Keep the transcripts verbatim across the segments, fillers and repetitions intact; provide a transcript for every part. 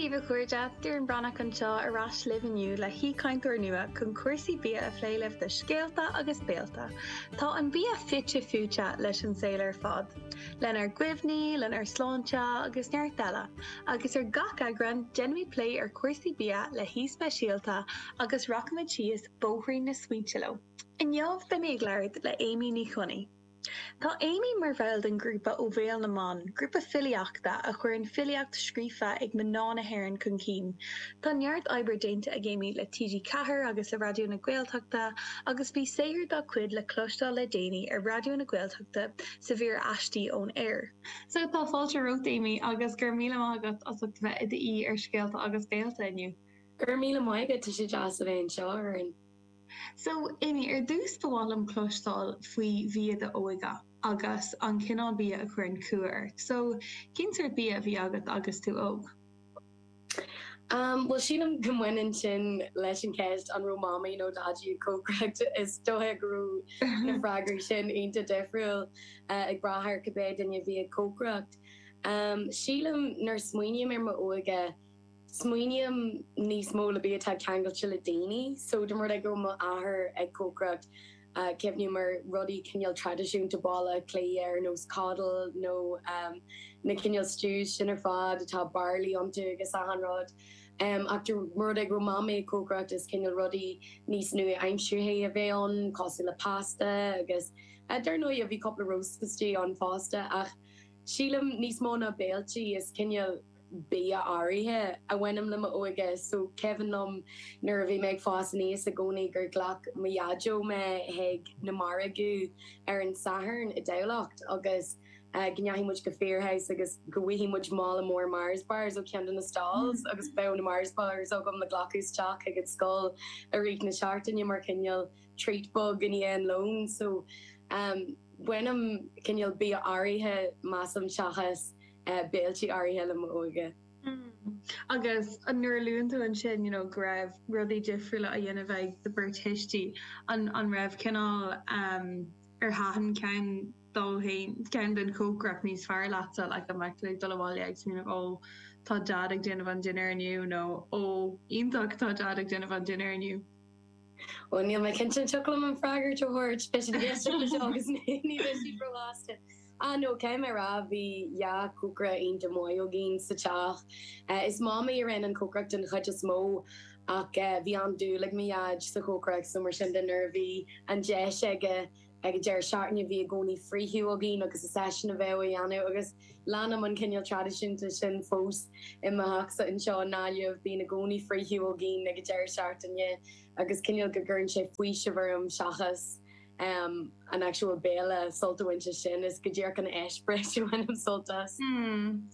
daoibh a chairde, Doireann Breathnach anseo ar ais libh inniu le haoichainteoir nua chun cúrsaí bia a phlé libh do Scéalta agus Béalta. Tá an bia fite fuaite leis an saol ar fad. Lenár gcuimhní, lenár sláinte agus neart eile. Agus ar gach eagrán, déanfaimid plé ar chúrsaí bia le haoi speisialta agus rachaimid síos bóithrín na smaointe leo. Inniu beidh mé ag labhairt le Amy Ní Chonaill. Tá Amy mar bhall den ghrúpa Ó Bhéal na mBan, grúpa filíochta a chuireann filíocht scríofa ag mná na hÉireann chun cinn. Tá neart oibre déanta ag Amy le TG Ceathair agus le Raidió na Gaeltachta agus bhí saothar dá cuid le cloisteáil le déanaí ar Raidió na Gaeltachta sa mhír Aistí ón Aer. So tá fáilte romhat Amy agus go raibh míle maith agat as ucht bheith i d'aoi ar Scéalta agus Béalta inniu. Go raibh míle maith agat, tá sé deas a bheith anseo a Dhoireann. So Amy, ar dtús ba mhaith liom cloisteáil faoi bhia d'óige agus an cineál bia a chuireann cumha ort. So cén sórt bia a bhí agat agus tú óg? Um, bhuel sílim go mbaineann sin leis an cheist an raibh mamaí nó daidí ag cócaireacht is dócha go raibh na freagraí sin iontach difriúil uh, ag brath ar cibé duine a bhí ag cócaireacht. Um, sílim nuair smaoiním ar m'óige Smaoiním níos mó le bia atá ceangailte le daoine, so dá mba rud é go raibh m'athair ag cócaireacht, cuimhním ar rudaí cineál traidisiúnta Baile Átha Cliath ar nós coddle nó na cineál stews sin ar fad atá barley iontu agus achan rud. Ach dá mba rud é go raibh mamaí ag cócaireacht is cineál rudaí níos nua-aimseartha a bheadh ann cosúil le pasta agus dar ndóigh bhí cúpla roast istigh ann fosta ach sílim níos mó ná béiltí is cineál bia áirithe a bhaineann le m'óige so cuimhin liom nuair a bhí mé ag fás aníos i gcónaí gur ghlac mo dhaideo mé chuig na margaí ar an Satharn i dTamhlacht agus go ndeachaigh muid go Firhouse agus go bhfaigheadh muid mála mór Mars bars ó cheann de na stalls agus bheadh na Mars bars agam le glacadh isteach chuig an scoil i rith na seachtaine mar chineál treat beag i ndiaidh an lóin so baineann cineál bia áirithe measaim seachas béiltí áirithe le m'óige. Agus nuair a luann tú ansin you know go raibh rudaí difriúla á dhéanamh ag do bheirt thuistí, an an raibh cineál um ar thaitin ceann dó féin ceann den chócaireacht níos fearr leatsa like an mbeadh tú ag dul abhaile ag smaoineamh ó tá Dad ag déanamh an dinnéar inniu nó ó iontach tá Dad ag déanamh an dinnéar inniu? Ó níl mé cinnte an dtiocfadh liom an freagairt a thabhairt, beidh siad ag éisteacht leis seo agus ní bheidh siad róshásta. Ah no, caithfidh mé a rá, bhí dhá chócaire iontach maith againn sa teach. Is mamaí a rinne an chócaireacht den chuid is mó ach bhí an-dúil ag mo dhaid sa chócaireacht so mar sin de nuair a bhí an deis aige ag an deireadh seachtaine bhí i gcónaí friochadh againn agus is eisean a bheadh á dhéanamh agus leanaim an cineál traidisiúnta sin fós i mo theachsa anseo i nGaillimh, bíonn i gcónaí friochadh againn ag an deireadh seachtaine agus cineál go gcuireann sé faoiseamh orm seachas an actual béile sult a bhaint as sin, is go díreach an eispéireas a bhainim sult as.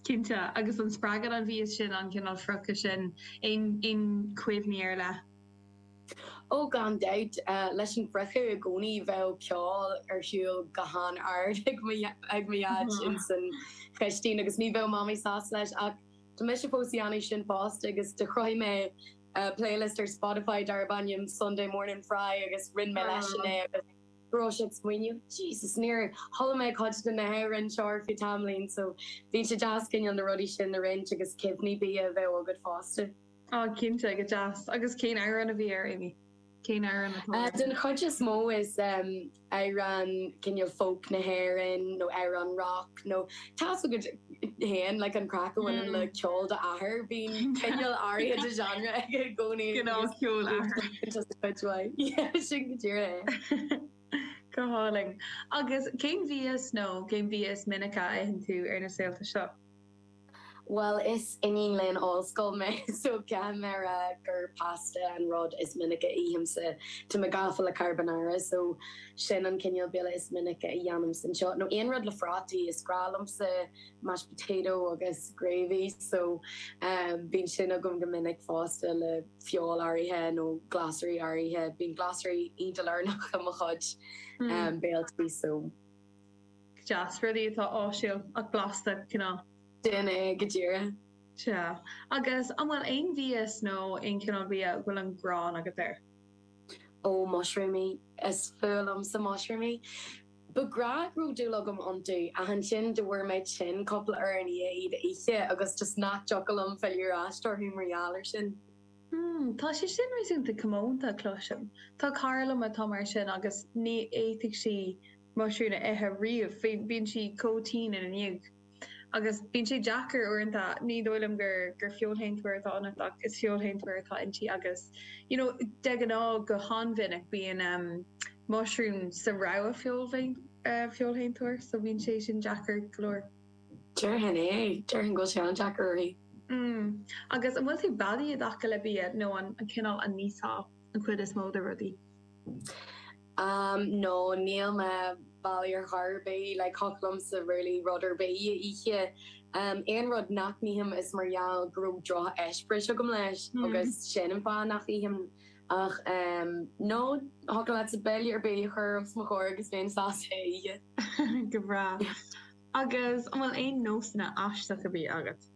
Cinnte, agus an spreagann an mhias sin, an cineál friochadh sin, aon aon chuimhní ar leith? Ó, gan dabht. Leis an bhfriochadh i gcónaí bheadh ceol ar siúl go han-ard ag mo ag mo dhaid ins an chistín agus ní bheadh Mamaí sásta leis ach tá mise fós a dhéanamh sin fosta agus do chruthaigh mé playlist ar Spotify darb ainm Sunday Morning Fry agus roinn mé leisean é agus go raibh sé ag smaoineamh Jesus níor chuala mé cuid de na hamhráin seo ar feadh tamaillín so bíonn sé deas cineál na rudaí sin a roinnt agus cuimhní bia a bheith agat fosta. Á cinnte, go deas. Agus cén amhrán a bhí air, Amy? Cén amhrán atá air? Den chuid is mó is amhrán cineál folk na hÉireann nó amhrán rock nó tá's agat féin like an craic a bhaineann le ceol d'athar, bíonn cineál áirithe de genre aige i gcónaí Gnáth ceol athar. Just cuid mhaith. Yeah, sin go díreach é. Go hálainn. Agus cén mhias nó cén bia is minice a itheann tú ar na saolta seo? Bhuel, is iníon léinn ollscoile mé so caithfidh mé a rá gur pasta an rud is minice a ithimse. Tá mé gafa le carbonara so sin an cineál béile is minice a dhéanaimse anseo. Nó aon rud le prátaí, is grá liomsa mashed potato agus gravy so bíonn sin agam go minic fosta le feoil áirithe nó glasraí áirithe. Bíonn glasraí iontach lárnach i mo chuid béiltí so. Deas, rudaí atá áisiúil ach blasta, cineál. Sin é go díreach. Sea. Agus an bhfuil aon mhias nó aon chineál bia a bhfuil an ghráin agat air? Ó, mushroomaí. Is fuath liomsa mushroomaí. Ba ghnách go raibh dúil agam iontu ach ansin do bhfuair mé tinn cúpla uair i ndiaidh iad a ithe agus just nach dtiocfadh liom filleadh ar ais orthu mar gheall air sin. Hmm, tá sé sin réasúnta comónta cloisim. Tá cara liom atá mar sin agus ní fhéadfadh sí muisriún a ithe riamh, bíonn sí chomh tinn ina ndiaidh. Agus bíonn sé deacair uaireanta, ní dóigh liom gur gur feoilséantóir atá ionat ach is feoilséantóir atá inti agus you know de ghnáth go han-mhinic bíonn um, muisriún sa rogha feoilséantóir so bíonn sé sin deacair go leor. Déarfainn é, déarfainn go bhfuil sé an-deacair uirthi. Mm. Agus an bhfuil tú beadaí i dtaca le bia nó an an cineál an n-íosfá an chuid is mó de rudaí? Um, no, níl mé beadaí ar chor ar bith like thiocfadh liomsa really rud ar bith a ithe. Um, aon rud nach n-ithim is mar gheall go raibh drocheispéireas agam leis Mm. agus sin an fáth nach ithim ach um, no thiocfadh leatsa béile ar bith a chur os mo chomhair agus bheinn sásta é a ithe. Go breá. Agus an bhfuil aon nósanna aisteacha ar bith agat?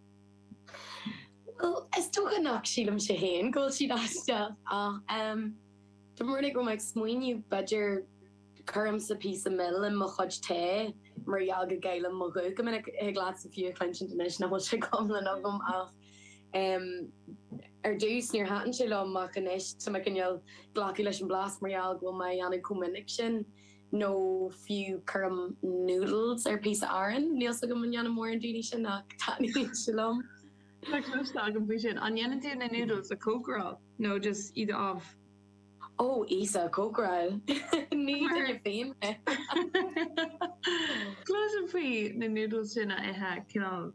Well, is dócha nach sílimse féin go bhfuil siad aisteach ach um, Tá mé go ag smaoineamh b'fhéidir cuirimse píosa mil i mo chuid tae mar gheall go gcaillim mo ghuth go minic thig leatsa fiú a chluinstin anois nach bhfuil sé go hiomlán agam ach um, ar dtús níor thaitin sé liom ach anois tá mé cineál glacadh leis an blas mar gheall go bhfuil mé á dhéanamh chomh minic sin nó fiú cuirim noodles ar píosa aráin níl a fhios agam an ndéanann mórán daoine sin ach taitníonn sé liom. Tá cloiste agam faoi sin. An ndéanann tú na noodles a chócaráil nó just iad a amh? Ó Íosa cócaráil ní duine féin mé. Cloisim faoi na noodles sin a ithe cineál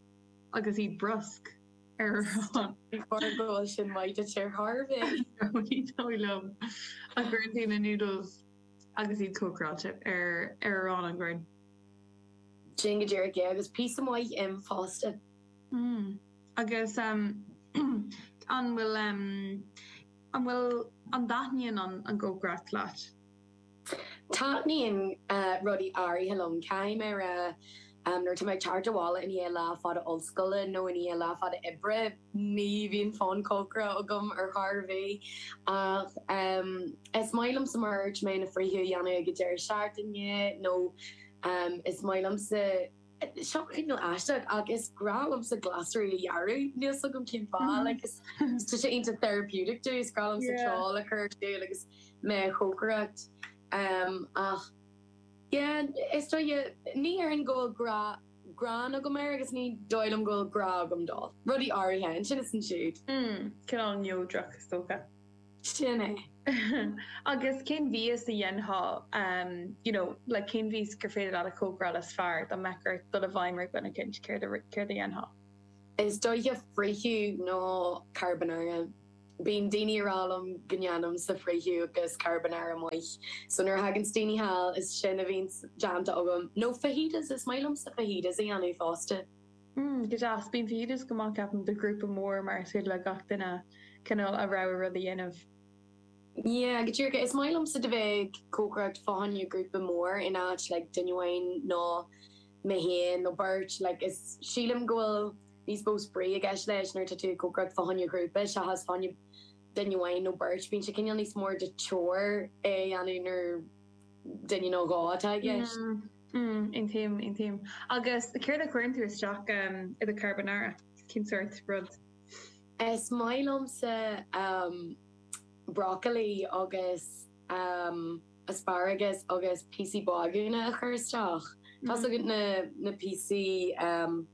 agus iad brusc ar arán. Go bhfuil sin maith duit ar chor ar bith. Ní dóigh liom a chuireann tú na noodles agus iad cócaráilte ar ar arán an gcuireann. Sin go díreach é agus píosa maith im fosta. Mm. Agus um, an bhfuil um, an bhfuil an dtaitníonn an an chócaireacht leat? Taitníonn uh, rudaí áirithe liom caithfidh mé rá um, nuair tá mé ag teacht abhaile i ndiaidh lá fada ollscoile nó i ndiaidh lá fada oibre ní bhíonn fonn cócaireachta agam ar chor ar bith ach um, is maith liomsa mar mé na friochadh a dhéanamh ag deireadh seachtaine nó um, is maith liomsa seo cineál aisteach ach is grá liomsa glasraí a ghearradh níl a fhios agam cén fáth like is tá sé iontach therapeutic dom is grá liomsa Yeah. ceol a chur ar siúl agus mé ag cócaireacht um, ach yeah, is dóigh ní déarfainn go bhfuil grá gráin agam air agus ní dóigh liom go bhfuil grá agam dó. Rudaí áirithe ansin is ansiúd. Mm, cineál neodrach is dócha. Sin é. Agus cén mhias a dhéanfá um, you know, like cén mhias gur féidir leat a chócaráil is fearr dá mbeadh ort dul i bhfeidhm ar dhuine éicint céard a céard a dhéanfá. Is dóiche friochadh nó carbonara. Bíonn daoine ag rá liom go ndéanaimse friochadh agus carbonara maith. So nuair a thagann daoine thall is sin a bhíonn déanta agam. No fajitas is maith liomsa fajitas a dhéanamh fosta. Mm, go deas bíonn fajitas go maith ceapaim do ghrúpa mór mar is féidir le gach duine cineál a rogha rud a dhéanamh. Yeah, go díreach is maith liomsa de bheith ag cócaireacht fá choinne grúpa mór in áit like duine amháin nó mé féin nó beirt like is sílim go bhfuil níos mó spraoi i gceist leis nuair atá tú ag cócaireacht fá choinne grúpa seachas fá choinne duine amháin nó beirt bíonn sé cineál níos mór de chore é a dhéanamh nuair duine nó dhó atá i gceist. Mm, mm, aontaím aontaím. Agus céard a chuireann tú isteach um, i do carbonara cén sórt rud. Is maith liomsa um, broccoli agus um, asparagus agus píosaí bagúna a chur isteach. Tá mm. na na píosaí um,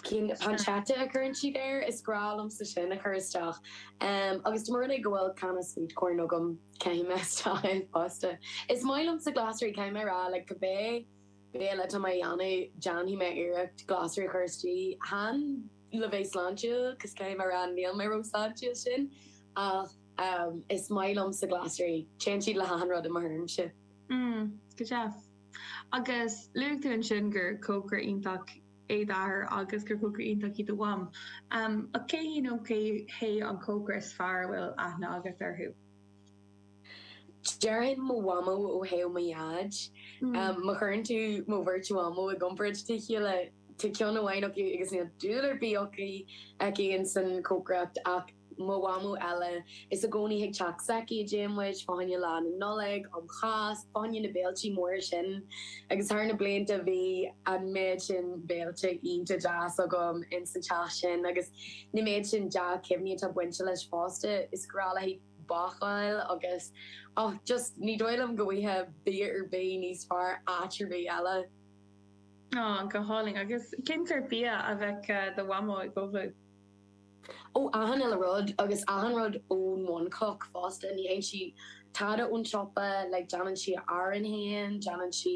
cinn pancetta a chuireann siad air is grá liomsa sin a chur isteach. Um, agus dá mba rud é go bhfuil canna sweet corn agam caithfidh mé isteach é fosta. Is maith liomsa glasraí caithfidh mé rá le cibé béile atá mé a dhéanamh déanfaidh mé iarracht glasraí a chur istigh chan le bheith sláintiúil, cos caithfidh mé rá níl mé ró-sláintiúil sin ach um, is maith liomsa glasraí téann siad le hachan rud i mo thuairimse. Mm, go deas. Agus luaigh tú ansin gur cócaire iontach é d'athair agus gur cócaire iontach í do mham. Um, ach cé hí nó cé hé an cócaire is fearr a bhfuil aithne agat orthu? Déarfainn mo mhamó ó thaobh mo dhaid. Mm. Um, má chuireann tú mo bheirt mhamó i gcomparáid le chéile tá ceann amháin acu agus níl dúil ar bith acu aici in san cócaireacht ach Mo mhamó eile is i gcónaí ag teach s'aici a dtéann muid fá choinne lá na Nollag, um Cháisc, fá choinne na béiltí móra sin agus thar na blianta bhí an méid sin béilte iontach deas agam ins an teach sin agus na méid sin dea-chuimhní atá bainte leis fosta is grá léi bácáil agus oh just ní dóigh liom go bhfaighfeá bia ar bith níos fearr áit ar bith eile. Oh, go hálainn agus cén sórt bia a bheadh do mhamó ag ullmhú? Ó achan uile rud agus achan rud ón bhunchloch fosta ní fhaigheann sí tada ón siopa like déanann sí a arán féin, déanann sí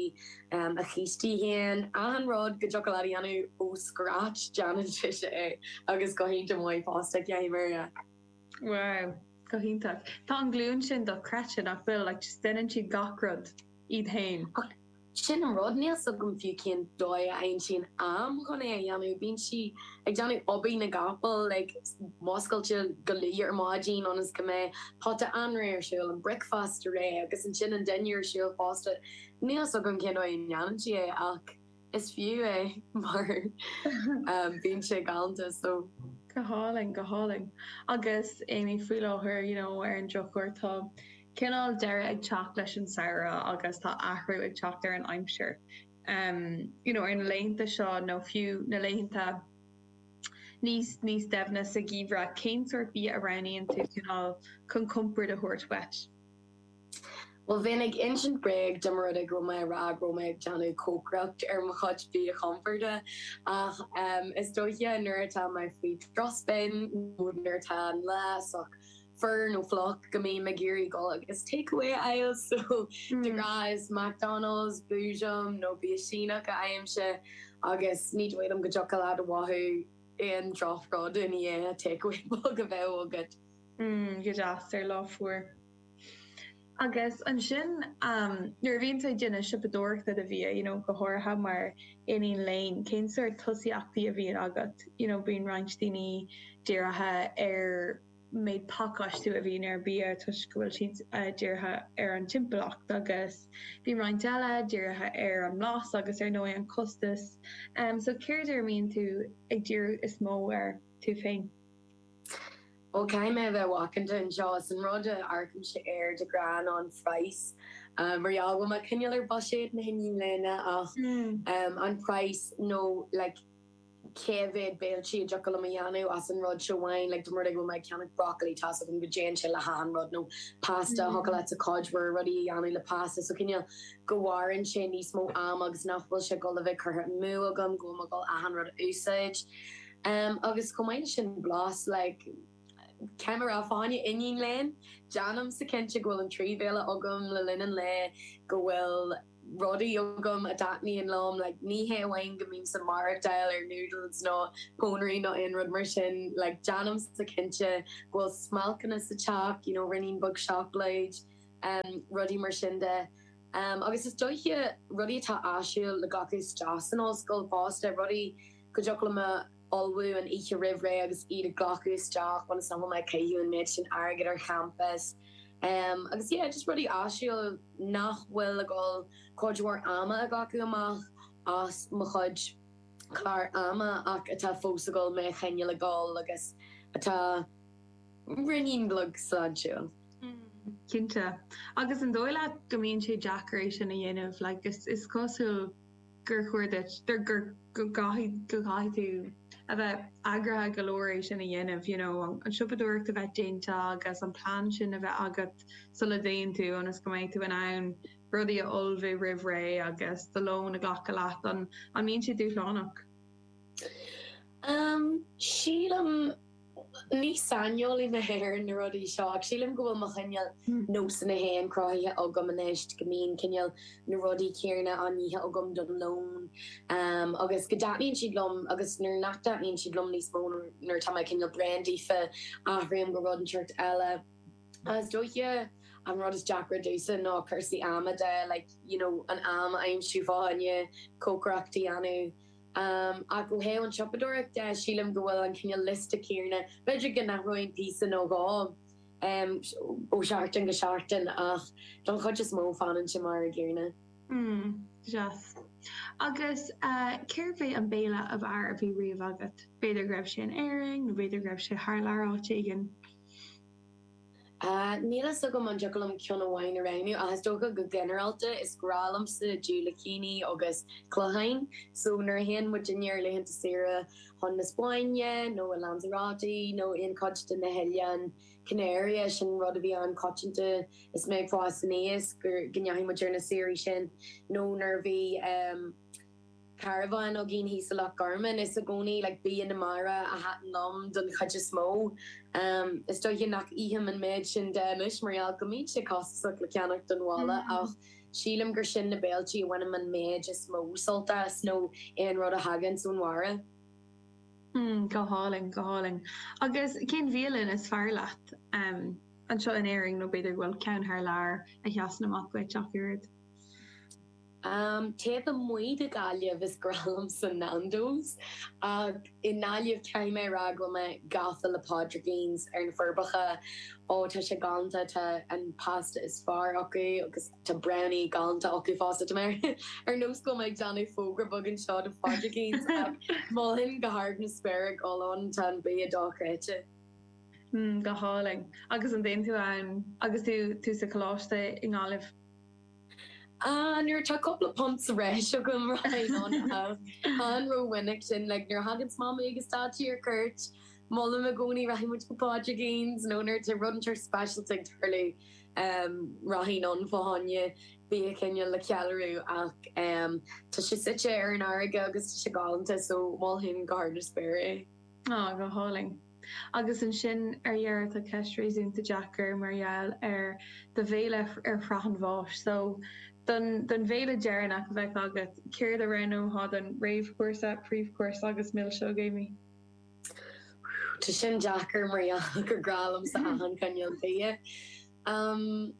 um, a chístí féin, achan rud go dtiocfadh leat a dhéanamh ó scratch déanann sise é agus go hiontach maith fosta ceapaim é. Wow, go hiontach. Tá an glúin sin dochreidte nach bhfuil like just déanann siad gach rud iad féin. Sin an rud níl a fhios agam fiú cén dóigh a fhaigheann sí an am chun é a dhéanamh, bíonn sí ag déanamh obair na gcapall like muscailte go luath ar maidin ionas go mbeidh pota anraith ar siúl, an bricfeasta réidh agus ansin an dinnéar ar siúl fosta. Níl a fhios agam cén dóigh a ndéanann sí é ach is fiú é mar um, bíonn sé galánta so. Go hálainn, go hálainn. Agus Amy faoi láthair, you know, ar an drochuair tá cineál deireadh ag teacht leis an samhradh agus tá athrú ag teacht ar an aimsir. Um, you know, ar na laethanta seo nó fiú na laethanta níos níos doimhne sa gheimhreadh, cén sórt bia a roghnaíonn tú cineál chun compord a thabhairt duit. Well bheinn ag insint bréag dá mba rud é go raibh mé ag rá go raibh mé ag déanamh cócaireacht ar mo chuid bia chomforda ach um, is dóiche nuair atá mé faoi drochspin nó nuair atá an lá sách fuar nó fliuch go mbím ag iarraidh dul agus takeaway a fháil so de ghnáth is McDonald's, Boojum nó bia Síneach a fhaighimse agus ní dóigh liom go dtiocfadh leat a mhothú aon drochrud i ndiaidh takeaway beag a bheith agat. Mm, go deas ar lá fuar. Agus ansin um, nuair a bhíonn tú ag déanamh siopadóireachta do bhia, you know, go háirithe mar iníon léinn, cén sórt tosaíochtaí a bhíonn agat, you know, bíonn roinnt daoine dírithe ar méid pacáistiú a bhíonn ar bia toisc go bhfuil siad uh, dírithe ar an timpeallacht agus bíonn roinnt eile dírithe ar an mblas agus ar ndóigh an costas. Um, so céard ar mbíonn tú ag díriú is mó ar tú féin? Ó caithfidh mé bheith macánta anseo is an rud a amharcaimse air de ghnáth ná an praghas. Um, mar gheall go bhfuil mé cineál ar bhuiséad na hiníon léinn ach Mm. um, an praghas nó like, cé mhéad béiltí a dtiocfadh liom a dhéanamh as an rud seo amháin, like, dá mba rud é go bhfuil mé ag ceannach broccoli tá agam go dtéann sé le hachan rud nó pasta Mm. thiocfadh leat cuid mhór rudaí a dhéanamh le pasta so cineál go mhaireann sé níos mó am agus nach bhfuil sé dul a bheith curtha amú agam go bhfuil mé dul achan rud a úsáid. Um, agus chomh maith leis sin blas like, Camera fáinne iníon léinn, Déanaimse cinnte go bhfuil an trí bhéile agam le linn an lae go bhfuil rudaí agam a thaitníonn liom, like, ní hé amháin go mbím ag maireachtáil ar noodles nó pónairí nó aon rud mar sin, like, déanaimse cinnte go bhfuil smailceanna sa teach, you know, ruainnín beag seacláid, um, rudaí mar sin de. Um, agus is dóiche rudaí atá áisiúil le glacadh isteach san ollscoil fosta, rudaí go dtiocfadh liom a ullmhú an oíche roimh ré agus iad ag glacadh isteach ionas nach bhfuil mé ag caitheamh an méid sin airgid ar champas. Um, agus yeah, just rudaí áisiúil nach bhfuil ag dul cuid mhór ama a ghlacadh amach as mo chuid clár ama ach atá fós ag dul mé a choinneáil ag dul agus atá ruainnín beag sláintiúil. Cinnte. Agus an dóigh leat go mbíonn sé deacair é sin a dhéanamh, like, is, is cosúil gur chóir duit gur gur go gcaithfidh go gcaithfidh tú a bheith eagraithe go leor é sin a dhéanamh, you know, an, an siopadóireacht a bheith déanta agus an plean sin a bheith agat sula dtéann tú ionas go mbeidh tú in ann rudaí a ullmhú roimh ré agus do lón a ghlacadh leat an an mbíonn sé dúshlánach. Um, sílim ní saineolaí mé ar na rudaí seo ach sílim go bhfuil mo chineál nósanna féin cruthaithe agam anois go mbíonn cineál na rudaí céanna á n-ithe agam don lón um, agus go dtaitníonn siad liom agus nuair nach dtaitníonn siad liom níos mó nuair tá mé cineál bréan díofa athraím go rud inteacht eile. Is dóiche an rud is deacra domhsa ná cúrsaí ama de like, you know, an am a aimsiú fá choinne cócaireacht a dhéanamh. Um, ach ó thaobh an siopadóireacht de sílim go bhfuil an cineál liosta céanna, b'fhéidir go n-athraíonn píosa nó dhó um, ó seachtain go seachtain ach don chuid is mó fanann sé mar an gcéanna. Mm, deas. Agus uh, cérbh é an béile ab fhearr a bhí riamh agat? B'fhéidir go raibh sé in Éirinn, nó b'fhéidir go raibh sé thar lear áit éigin. Uh, Níl a fhios agam an dtiocfadh liom ceann amháin a roghnú ach is dócha go ginearálta is grá liomsa diúilicíní agus cloicheáin, so nuair a théann muidinne ar laethanta saoire chun na Spáinne nó i Lanzarote nó aon chuid de na hOileáin Canaria sin rud a bhí an-choitianta is mé ag fás aníos go go ndeachaigh muid ar na saoirí sin nó nuair a bhí um, carbhán againn thíos i Loch Garman is i gcónaí like, bia na mara a thaitin liom don chuid is mó. Um, is dóiche nach ithim an méid sin de anois mar gheall go mbíonn sé costasach le ceannach don bhaile mm. ach sílim gur sin na béiltí a bhainim an méid is mó sult as nó aon rud a thagann ón mara. Mm, go hálainn go hálainn. Agus cén bhialann is fearr leat um, anseo in Éirinn nó b'fhéidir bhfuil ceann thar lear a sheasann amach duit ach oiread. Um, Taobh amuigh de Ghaillimh is grá liomsa Nando's ach i nGaillimh caithfidh mé rá go mé gafa le Pádraigín's ar na Forbacha ó tá sé galánta tá an pasta is fearr acu agus tá brownie galánta acu fosta mé ar nós go ag déanamh fógra beag anseo do Phádraigín's mholfainn go hard na spéire dul ann tá an bia dochreidte. Mm, go hálainn agus an dtéann tú ann agus tú tú sa choláiste i nGaillimh. Ah, nuair tá cúpla punt sa bhreis agam an ró-mhinic sin le nuair a thagann mamaí agus daidí ar cuairt molaim i gcónaí rachaidh muid go Pádraigín's nó nuair tá rud inteacht speisialta ag tarlú um, rachainn ann fá choinne bia cineál le ceiliúradh ach um, tá sé suite ar an fharraige agus tá sé galánta so mholfainn go hard na spéire é. Á go hálainn. Agus ansin ar dheireadh tá ceist réasúnta deacair mar gheall ar do bhéile ar shraith an bháis, so don don bhéile deireanach a bheith agat céard a roghnófá don réamhchúrsa, príomhchúrsa agus milseog Amy. Tá sin deacair mar gur grá liomsa achan chineál bia. Um,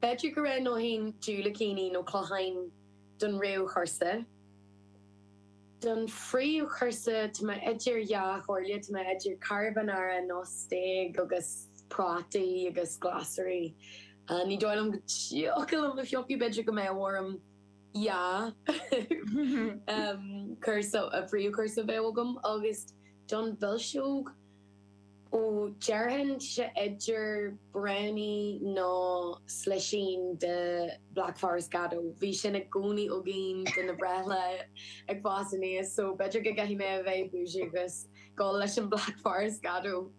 B'fhéidir go roghnóinn diúilicíní nó cloicheáin don réamhchúrsa. Don phríomhchúrsa tá mé idir dhá chomhairle tá mé idir carbonara nó steak agus prátaí agus glasraí. Uh, ní dóigh liom go dtiocfadh liom a phiocadh b'fhéidir go mbeadh orm yeah um, cúrsa a phríomhchúrsa bheith agam agus don mhilseog ó déarfainn sé idir brownie nó slisín de Black Forest Gateau. Bhí sin i gcónaí againn do na breithlá ag fás aníos, so b'fhéidir go gcaithfidh mé a bheith bougie agus dul leis an Black Forest Gateau.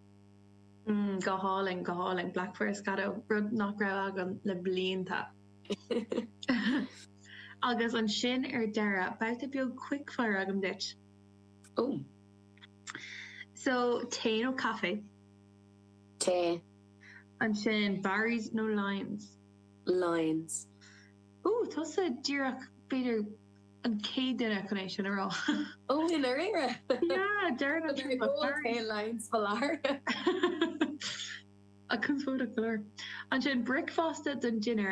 Mm, go hálainn go hálainn Black Forest Gateau rud nach raibh agam le blianta. Agus ansin ar deireadh babhta beag quickfire agam duit. Oh. So tae nó caife? Tae. Ansin Barry's nó Lyons? Lyons. Ó tusa díreach b'fhéidir an chéad duine chun é sin a rá. Ó in ar Yeah, deireadh Lyons falar. A conspóideach go leor. Ansin bricfeasta don dinnéar